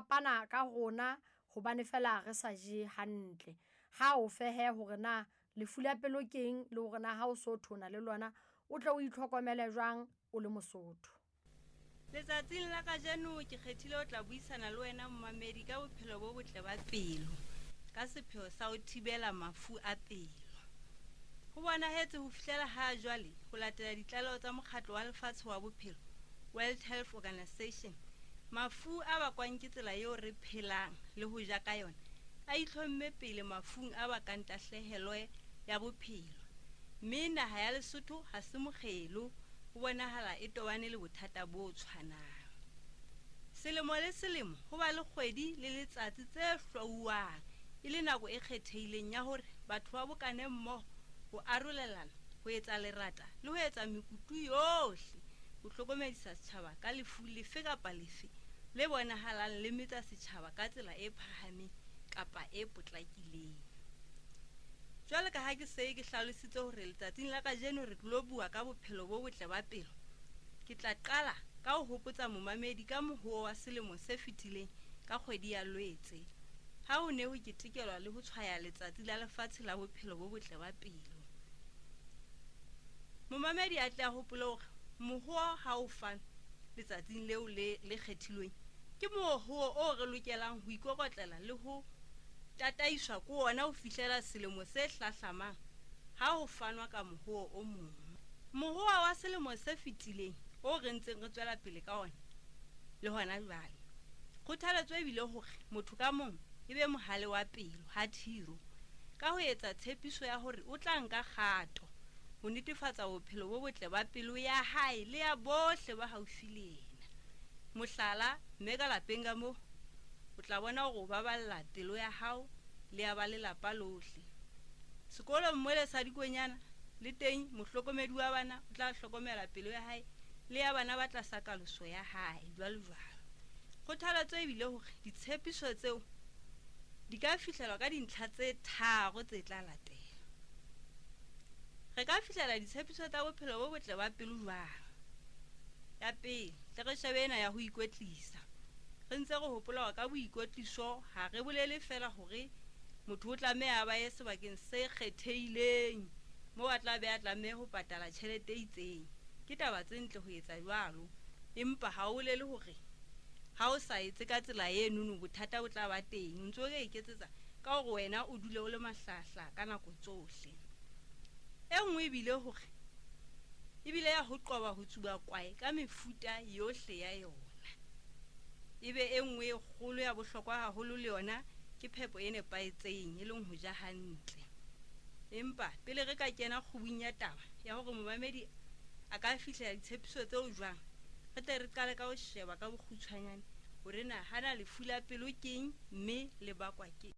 fapana ka rona hobane fela re sa je hantle. Ha o fehe hore na lefu la pelo keng le hore na ha o so thona le lona o tle o itlhokomele jwang o le Mosotho. Letsatsing la kajeno ke kgethile ho tla buisana le wena momamedi ka bophelo bo botle ba pelo ka sepheo sa ho thibela mafu a pelo. Ho bonahetse ho fihlela ha jwale ho latela ditlaleho tsa Mokgatlo wa Lefatshe wa Bophelo, World Health Organization, mafu a bakwang ke tsela eo re phelang le ho ja ka yona a itlhomme pele mafung a bakang tahlehelo ya bophelo. Mme naha ya Lesotho ha se mokgelo, ho bonahala e tobane le bothata bo tshwanang. Selemo le selemo ho ba le kgwedi le letsatsi tse hlwauwang e le nako e kgethehileng ya hore batho ba bokane mmoho ho arolelana, ho etsa lerata le ho etsa mekutu yohle ho hlokomedisa setjhaba ka lefu lefe kapa lefe le bonahalang le metsa setjhaba ka tsela e phahameng kapa e potlakileng. Jwale ka ha ke se ke hlalositse hore letsatsing la kajeno re tlo bua ka bophelo bo botle ba pelo, ke tla qala ka ho hopotsa momamedi ka mohoo wa selemo se fetileng ka kgwedi ya Lwetse ha ho ne ho ketekelwa le ho tshwaya letsatsi la lefatshe la bophelo bo botle ba pelo. Momamedi a tle a hopole hore mohoo ha o fanwe letsatsing leo le le kgethilweng ke mohoo o re lokelang ho ikokotlela le ho tataiswa ke ona ho fihlela selemo se hlahlamang ha ho fanwa ka mohoo o mong. Mohoo wa selemo se fetileng o re ntseng re tswela pele ka ona le hona jwale, kgothaletso ebile hore motho ka mong e be mohale wa pelo heart hero ka ho etsa tshepiso ya hore o tla nka kgato ho netefatsa bophelo bo botle ba pelo ya hae le ya bohle ba haufi le yena. Mohlala, mme ka lapeng ka moo o tla bona hore o baballa pelo ya hao le ya ba lelapa lohle. Sekolong mole sa dikonyana le teng mohlokomedi wa bana o tla hlokomela pelo ya hae le ya bana ba tlasa kaloso ya hae, jwalo jwalo. Kgothaletso ebile hore ditshepiso tseo di ka fihlelwa ka dintlha tse tharo tse tla latela. Re ka fihlela ditshepiso tsa bophelo bo botle ba pelo jwang? Ya pele, tle re shebe ena ya ho ikwetlisa. Re ntse re hopola hore ka boikwetliso ha re bolele fela hore motho o tlameha a ba ye sebakeng se kgethehileng moo a tla be a tlameha ho patala tjhelete e itseng. Ke taba tse ntle ho etsa jwalo, empa ha o bolele hore ha o sa etse ka tsela enono bothata bo tla ba teng. O ntso o ka iketsetsa ka hore wena o dule o le mahlahahlaha ka nako tsohle. E nngwe ebile hore ebile ya ho qoba ho tsuba kwae ka mefuta yohle ya yona. Ebe e nngwe e kgolo ya bohlokwa haholo le yona ke phepo e nepahetseng, e leng ho ja hantle. Empa pele re ka kena kgubung ya taba ya hore momamedi a ka fihlela ditshepiso tseo jwang, re tle re qale ka ho sheba ka bokgutshwanyane hore na hana lefu la pelo keng mme le bakwa ke.